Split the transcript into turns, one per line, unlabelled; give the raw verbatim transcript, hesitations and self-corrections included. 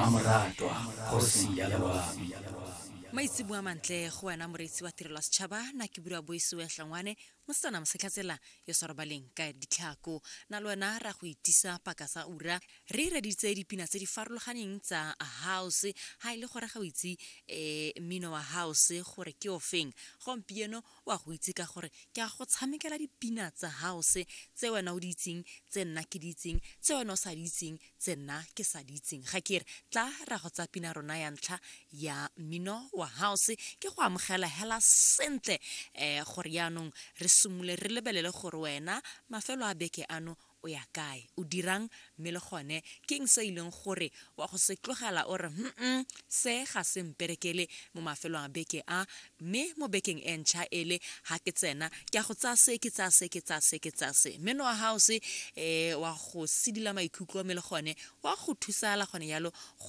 Mmamoratwa kgosi ya loabi.
Maitseboa mantle go wena moreetsi wa tirelo ya setšhaba. Nna ke bua Boisiwe Hlongwane, mosetsana mosetlhatsela yo sa robaleng ka ditlhako. Na le wena ra go itisa paka sa ura re reditse dipina tse di farologaneng tsa house. Ha e le gore ga o itse um mmino wa house gore ke o feng, gompieno wa go itse ka gore ke a go tshamekela dipina tsa house tse wena o di itseng, tse nna ke di itseng, tse wena o sa di itseng, tse nna ke sa di itseng. Ga ke re tla ra go tsa pina rona ya ntlha ya mmino wa house. Ke go amogela hela sentle um gore yaanong re simolole re lebelele gore wena mafelo a beke ano o ya kae, o dirang, mme le gone ke eng se e leng gore wa go se tlogela o re mm se ga se mperekele mo mafelong a beke a, mme mo bekeng e ntšha ele ga ke tsena ke a go tsaya se, ke tsaya se, ke tsaya se, ke tsaya se. Mmino wa house um wa go sedila maikutlo, mme le gone wa go thusala gone yalo go